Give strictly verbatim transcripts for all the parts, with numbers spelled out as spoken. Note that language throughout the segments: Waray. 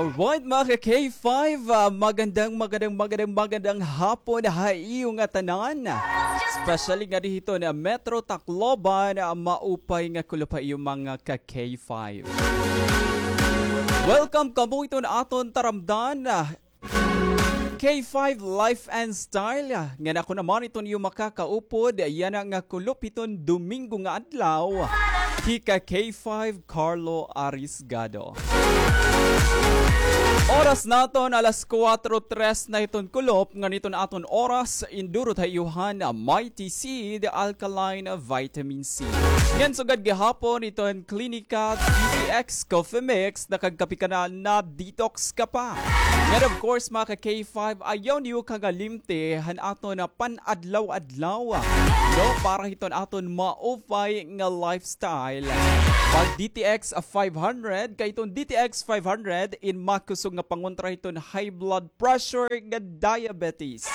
Alright, mga ka-K five, ah, magandang, magandang, magandang, magandang hapon ha iyo ngatanan. Especially ngadi hiton Metro Tacloban, ah, maupay nga kulop ha iyo mga ka-K five. Welcome kamo hiton aton taramdan, ah, K five Life and Style, ah, ngan ako naman iton iyo makakaupod, yana nga kulop hiton Domingo nga adlaw, hika K five Carlo Arisgado. Oras naton alas kuwatro tres na hiton kulop, ngan iton aton oras, indurot ha iyo han Mighty Seed Alkaline Vitamin C. Ngan sugad gihapon iton Clinica D T X Coffee Mix, nakagkape ka na, na-detox ka pa. Ngan of course, mga ka-K five, ayaw niyo kangalimti han aton, ah, pan-adlaw-adlaw, no, para hiton aton maupay nga lifestyle. Pag D T X five hundred, kay iton D T X five hundred in makusog nga pangontra hiton high blood pressure nga diabetes.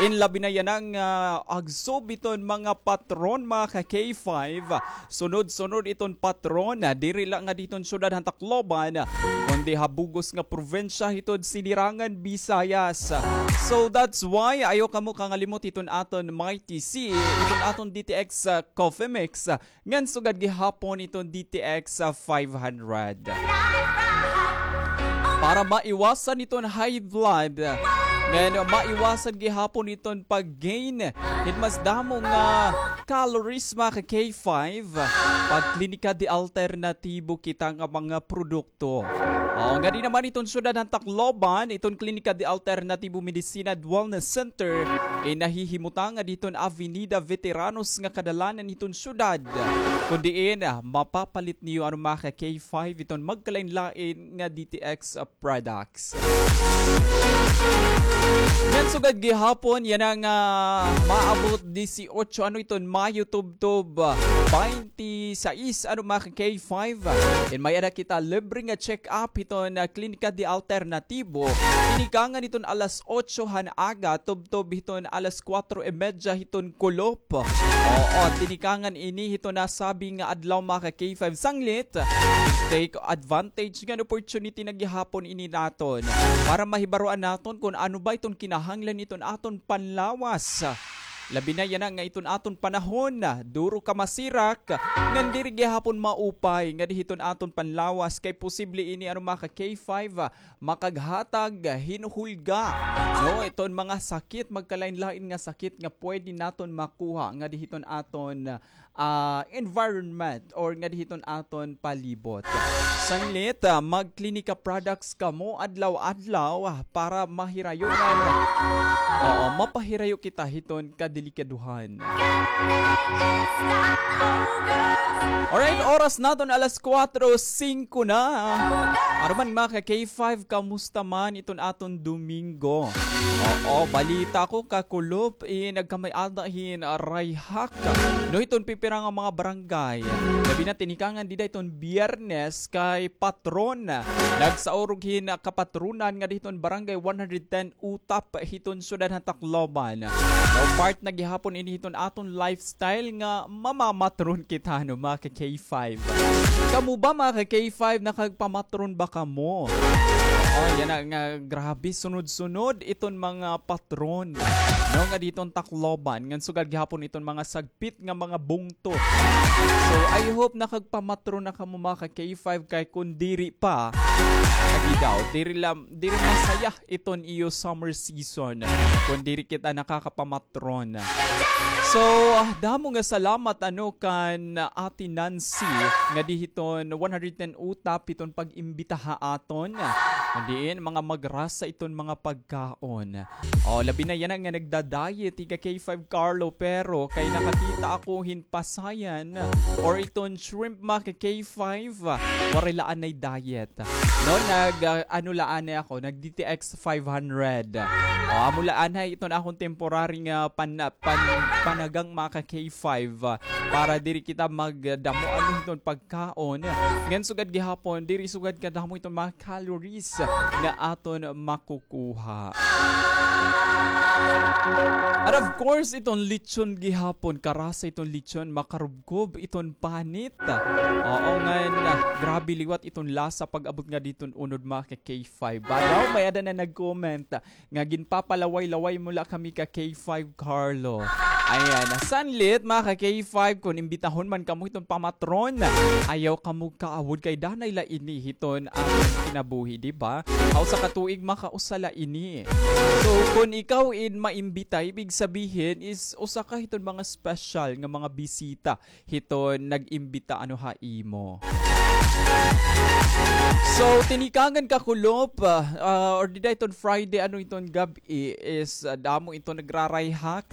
In labi na yana nga, ah, agsob hiton mga patron, mga ka-K five. Sunod-sunod iton patron, ah, diri la ngadi hiton syudad han Tacloban, kundi ha bug-os nga probinsya hiton Sinirangan Visayas. So that's why ayaw kamo kangalimot hiton aton Mighty C, hiton aton D T X, ah, Coffee Mix, ah, ngan sugad gihapon iton D T X, ah, five hundred. Para maiwasan iton high blood, ngan maiwasan gihapon iton pag-gain hin mas damo nga calories, mga ka-K five, pag-Klinika de Alternatibo kita nga mga produkto. O, ngadi naman iton syudad han Tacloban, iton Klinika de Alternatibo Medicina and Wellness Center, in nahihimutangan hiton Avenida Veteranos nga kadalanan hiton syudad. Kun diin, ah, mapapalit niyo ano, mga ka-K five, iton magkalain-lain nga D T X, ah, products. Ngan sugad gihapon, yana nga maabot disiotso, ano iton, Mayo tubtob, ah, baynte sais, ano, mga ka-K five. In may-ada kita libre nga check-up hiton, ah, Klinika de Alternatibo. Tinikangan hiton alas otso han aga, tubtob hiton alas kuwatro y medya hiton kulop. Oo, tinikangan ini hiton nasabi nga adlaw, mga ka-K five, sanglit. Take advantage ngan opportunity na gihapon ini naton para mahibaroan naton kun ano ba iton kinahanglan hiton aton panlawas. Labi na yana nga iton aton panahon, duro ka masirak, ngan diri gihapon maupay ngadi hiton aton panlawas kay posible ini, ano, mga ka-K five, makaghatag hin hulga, no, iton mga sakit, magkalain-lain nga sakit nga pwede naton makuha ngadi hiton aton, ah, environment or ngadi hiton aton palibot. Sanglit, ah, mag-Klinika products kamo adlaw-adlaw, ah, para mahirayo man, oo, mapahirayo kita hiton kadelikaduhan. Alright, oras naton alas kuwatro singko na. Ano man, mga ka-K five, kamusta man iton aton Domingo? Oo, balita ko kakulop, eh, nagkamay-ada hin, ah, rayhak. No, hiton pipira nga mga barangay. Labi na tinikangan dida iton Biyernes kay patron. Nagsaurog hin, ah, kapatronan ngadi hiton Barangay one hundred ten Utap hiton syudad han Tacloban. No, part na gihapon ini hiton aton lifestyle nga mamamatron kita, no, mga ka-K five. Kamo ba, mga ka-K five, nakagpamatron ba kamo? Oh, yana nga grabe, sunod-sunod iton mga patron, no, ngadi hiton Tacloban, ngan sugad gihapon iton mga sagpit nga mga bungto. So, I hope nakagpamatron na kamo, mga ka-K five, kay kun diri pa, lagi daw, diri la, diri masaya iton iyo summer season kun diri kita nakakapamatron. So, ah, damo nga salamat, ano, kan Ate Nancy ngadi hiton one hundred ten Utap hiton pag-imbita ha aton. Kun diin, mga magrasa iton mga pagkaon. O, labi na yana nga nagda-diet, hika K five Carlo, pero kay nakakita ako hin pasayan or iton shrimp, mga ka-K five, waray la anay diet. No, nag, ah, ano la anay ako, nag-D T X five hundred. O, amo la anay iton akon temporary nga pan-, ah, pan-, panagang, mga ka-K five, ah, para diri kita magdamo ano hiton pagkaon. Ngan sugad gihapon, diri sugad kadamo iton mga calories nga aton makukuha. And of course, iton lechon gihapon, karasa iton lechon, makarubkob iton panit. Oo, ngan, ah, grabe liwat iton lasa pag-abot nga diton unod, mga ka-K five. Badaw, may-ada na nag-comment nga ginpapalaway-laway mo la kami ka K five Carlo. Ayan, sanlit, mga ka K five, kon imbitahon man kamo hiton pamatron, ayaw kamo kaawod kay danay la ini hiton aton kinabuhi, di ba? Usa ka tuig makausa la ini. So, kon ikaw in maimbita, ibig sabihin is usa ka hiton mga special nga mga bisita hiton nag-imbita ano ha imo. So, tinikangan kakulop, ah, ah, or dida iton Friday, ano iton gab-i is, ah, damo iton nagrarayhak,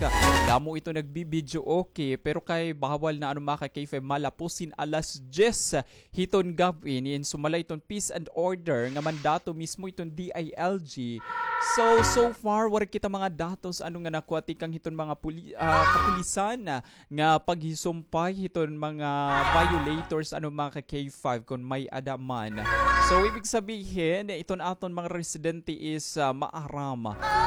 damo iton nagbi-videoke, pero kay bawal na ano mga ka-K five, malapos hin alas diyes hiton gab-i, niin sumala iton peace and order nga mandato mismo iton D I L G. So, so far, wara kita mga datos ano nga nakuha tikang hiton mga puli-, ah, kapulisan, ah, nga paghisumpay hiton mga violators, ano, mga ka-K five, kon may-ada man. So, ibig sabihin, iton aton mga residente is, ah, maaram.